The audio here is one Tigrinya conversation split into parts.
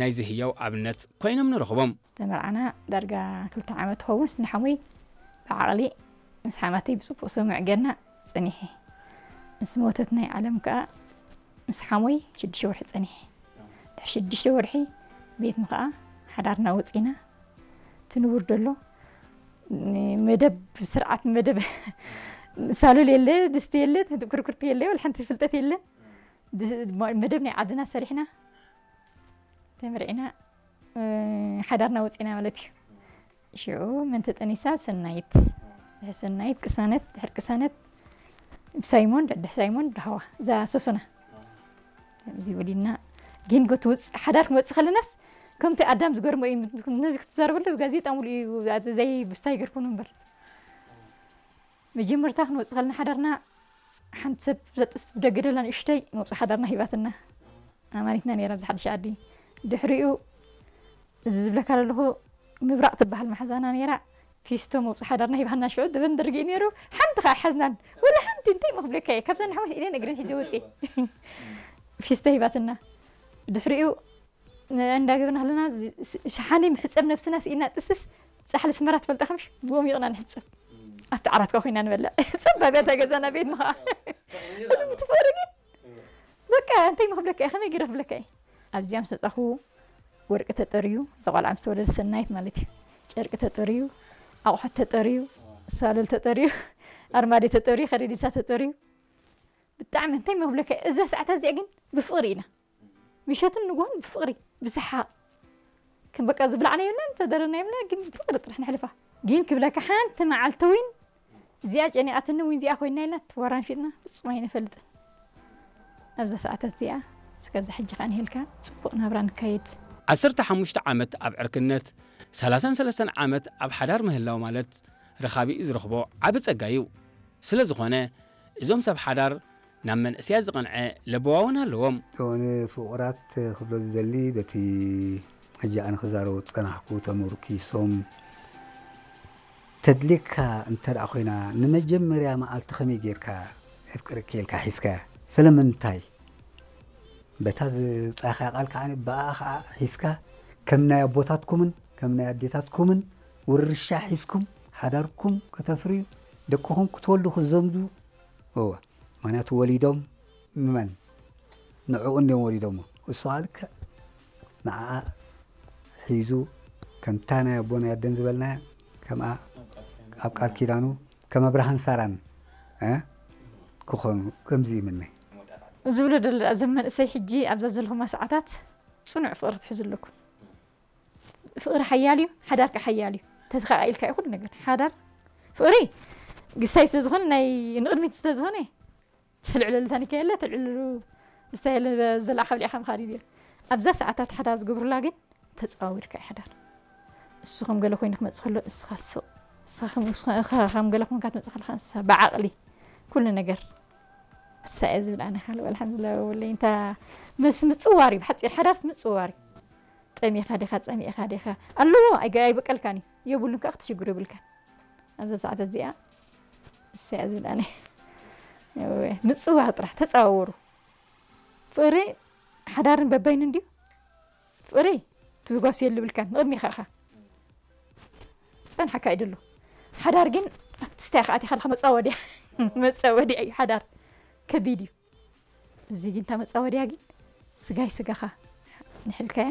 ናይዚ ህያው ኣብነት ኮይኖም ንረኽቦም። ዝተመርዓና ዳርጋ ክልተ ዓመት ትኸውን፣ ንሓሙይ ብዓቕሊ ምስ ሓማተይ ብጽቡቕ ስምዕ ጌርና ጸኒሐ። ምስ ሞተት ናይ ዓለም ከኣ ምስ ሓሞይ ሽዱሽተ ወርሒ ጸኒሐ። ድሕሪ ሽዱሽተ ወርሒ ቤትና ከኣ ሓዳርና ወጺና። እቲ ንቡር ደሎ መደብ ስርዓት መደብ ሳሎል የለ፣ ድስቲ የለ፣ ኩርኩርቲ የለ፣ ወላ ሓንቲ ፍልጠት የለ። ድስ-፣ መደብ ናይ ዓድና ሰሪሕና ተመርዒና፣ እ፣ ሓዳርና ወፂና ማለት እዩ። ሽዑ መን ተጠኒሳ? ሰናይት። ድሕሪ ሰናይት ቅሳነት፣ ድሕሪ ቅሳነት ሳይሞን፣ ድሕሪ ሳይሞን ዳህዋ፣ እዛ ሶሶና። ከምዚ ወሊድና ግን ጎት ውፅ-፣ ሓዳር ክንወፅእ ከለናስ ከምቲ ኣዳም ዝገርሞ እዩ። ነዚ ክትዛረበሉ ጋዜጣ ሙሉ እዩ፣ ዘይ ብስታይ ገርኩን እምበር። መጀመርታ ክንወፅእ ከለና ሓዳርና ሓንቲ ሰብ ዘጥስ ብደገ ደላ ንእሽተይ መውፅእ ሓዳርና ሂባትና። ኣማኒትና ነይራ ኣብዚ ሓድሽ ዓዲ። ድሕሪኡ እዚ ዝብለካ ዘለኹ ምብራቕ ትበሃል መሓዛና ነይራ። ፊስቶ መውፅእ ሓዳርና ሂባና ሽዑ ድበን ደርጊ እዩ ነይሩ። ሓንቲ ከዓ ሓዝናን። ወላ ሓንቲ እንታይ መኽብለካ እየ። ካብዛ ንሓወስ ኢደን እግረን ሒዘ ወፅእ። ፊስቶ ሂባትና። ድሕሪኡ ንዕንዳ ገበና ከለና ዝ-፣ ስ-፣ ሸሓኒ ምሕጸብ ነብስና ስኢና ጥስስ ጻሕሊ ስመራ ትፈልጣ ከምሽ ብኦም ይቕና ንሕጸብ። ኣብቲ ዓራት ከ ኮይና ንበልዕ። ጸባብ እያ እታ ገዛና ቤትና ኸዓ። እቲ ብትፈሪ ግን በቃ እንታይ መኽብለካ እየ፣ ከመይ ገይረ ክብለካ እየ። ኣብዚኣ ምስ መጻኹ ወርቂ ተጠርዩ፣ እዛ ቆልዓ ምስ ተወለደት ሰናይት ማለት እዩ። ጨርቂ ተጠርዩ፣ ኣቑሑት ተጠርዩ፣ ሳሎል ተጠርዩ፣ ኣርማድዮ ተጠርዩ፣ ከረዲሳ ተጠርዩ። ብጣዕሚ እንታይ መኽብለካ እየ፣ እዛ ሰዓታት እዚኣ ግን ብፍቕሪ ኢና። ምሸትን ንግሆን ብፍቕሪ፣ ብሰሓቕ። ከም በቃ ዝብላዕና የብልና፣ እንተደረና የብልና፣ ግን ብፍቕሪ ጥራሕ ነሕልፋ። ግን ክብለካ ሓንቲ መዓልቲ እውን እዚኣ ጨኒቓትኒ እውን እዚኣ ኮይና ኢልና ተወራንፊጥና ፍጹም ኣይንፈልጥን። ኣብዛ ሰዓታት እዚኣ እስከ ኣብዛ ሕጂ ከኣ ንሄልካ ጽቡቕ ናብራ ንካየድ። ዓሰርተ ሓሙሽተ ዓመት ኣብ ዕርክነት፣ ሰላሳን ሰለስተን ዓመት ኣብ ሓዳር ምህላው ማለት ረኻቢኡ ዝረኽቦ ዓቢ ጸጋ እዩ። ስለ ዝኾነ፣ እዞም ሰብ ሓዳር ናብ መንእሰያት ዝቐንዐ ለበዋ እውን ኣለዎም። እቶ ንፍቑራት ክብሎ ዝደሊ፣ በቲ ሕጂ ኣነ ክዛረቦ ዝጸናሕኩ ተመርኪሶም፣ ተድልየካ እንተ ደኣ ኮይና፣ ንመጀመርያ መዓልቲ ከመይ ጌርካ የፍቅረኪ ኢልካ ሒዝካያ? ስለምንታይ? በታ ዝውጻእካያ ቃል ከኣ ብኣ ከኣ ሒዝካ ከም ናይ ኣቦታትኩምን ከም ናይ ኣዴታትኩምን ውርሻ ሒዝኩም ሓዳርኩም ከተፍርዩ፣ ደቅኹም ክትወልዱ ክትዘምዱ፣ እወ፣ ምኽንያቱ ወሊዶም ንመን? ንዕኡ እንድዮም ወሊዶሞ። እሱ ከኣ ልክዕ ንዓኣ ሒዙ ከምታ ናይ ኣቦን ኣደን ዝበልናያ ከምኣ ኣብ ቃል ኪዳኑ ከም ኣብርሃን ሳራን፣ እ፣ ክኾኑ ከምዚ ይምነ። ዝብሎ ደለ እዞም መንእሰይ ሕጂ ኣብዛ ዘለኹማ ሰዓታት ጽኑዕ ፍቕሪ ትሕዙ ኣለኩም። ፍቕሪ ሓያል እዩ፣ ሓዳር ከኣ ሓያል እዩ። ተተኻኢልካ እዩ ኩሉ ነገር። ሓዳር ፍቕሪ ግሳይ ስለ ዝኾነ ናይ ንቕድሚት ስለ ዝኾነ ትልዕለሉ ታኒካ የለ፣ ትልዕለሉ እስታ የለ ዝበላዕካ ብሊዕካ ምኻድ እዩ። ኣብዛ ሰዓታት ሓዳር ዝገብሩላ ግን ተጸዋዊርካ እዩ ሓዳር። እሱ ከም ገለ ኮይኑ ክመጽእ ከሎ እስኻ ስቕ፣ እስኻ ከም፣ እስኻ፣ እስኻ ከም ገለ ኮንካ ትመጽእ ከለኻ ንሳ ብዓቕሊ ኩሉ ነገር እሳ እየ ዝብል ኣነ ካልእ ኣልሓምዱሊላህ ወለይ እንታ ምስ ምጽዋር እዩ፣ ብሓጺር ሓዳርስ ምጽዋር እዩ። ጠሚኻ ዲኻ፣ ጸሚእኻ ዲኻ ኣለዎ፣ ኣይገ-፣ ኣይበቀልካን እዩ፣ የብሉን ከኣ ክትሽግሩ የብልካን። ኣብዛ ሰዓት እዚኣ እሳ እያ ዝብል ኣነ። እወ፣ ምጽዋር ጥራሕ ተጸዋወሩ። ፍቕሪ ሓዳርን በባይኑ እንድዩ። ፍቕሪ ትጓስየሉ የብልካን፣ ንቕድሚኻ ኢኻ። ዝጸንሓካ እዩ ደሎ። ሓዳር ግን ኣብቲ ስታይ ከኣ ኣቲኻ ኣለኻ መጻወድያ። መጻወድያ እዩ ሓዳር። ከቢድ እዩ። እዚ ግን እታ መጻወድያ ግን ስጋይ ስጋኻ ንሕልካያ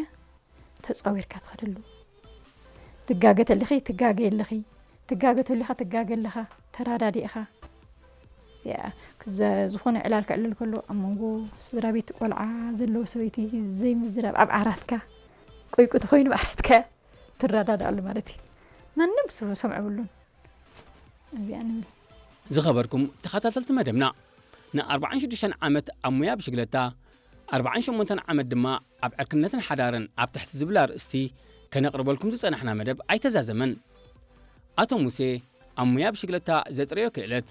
ተጻዊርካ ትኸደሉ። ትጋገ ተለኺ፣ ትጋገ ኣለኺ። ትጋገ ተሊኻ፣ ትጋገ ኣለኻ። ተራዳዲእኻ። እዚኣ፣ ክዘ-፣ ዝኾነ ዕላል ክዕልል ከሎ፣ ኣብ መንጎ ስድራ ቤት ቆልዓ ዘለዎ ሰበይቲ ዘይምዝራብ፣ ኣብ ዓራትካ፣ ቆይቁ ተኾይኑ ኣብ ዓራትካ ትረዳዳኣሉ ማለት እዩ። ማንም ስ-፣ ሰምዖ የብሉን። እዚኣ ንብል። ዝኸበርኩም ተኸታተልቲ መደብና፣ ንኣርባዓን ሽዱሽተን ዓመት ኣብ ሙያ ብሽግለታ፣ ኣርባዓን ሸሞንተን ዓመት ድማ ኣብ ዕርክነትን ሓዳርን ኣብ ትሕቲ ዝብል ኣርእስቲ ከነቕርበልኩም ዝጸናሕና መደብ ኣይተዛዘመን። ኣቶ ሙሴ ኣብ ሙያ ብሽግለታ ዘጥረዮ ክእለት፣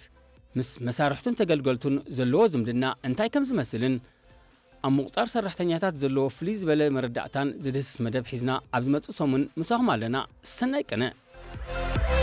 ምስ መሳርሕቱን ተገልገልቱን ዘለዎ ዝምድና እንታይ ከም ዝመስልን፣ ኣብ ምቑጻር ሰራሕተኛታት ዘለዎ ፍልይ ዝበለ መረዳእታን ዝድህስስ መደብ ሒዝና ኣብ ዝመጽእ ሰሙን ምሳኹም ኣለና። ሰናይ ቅነ።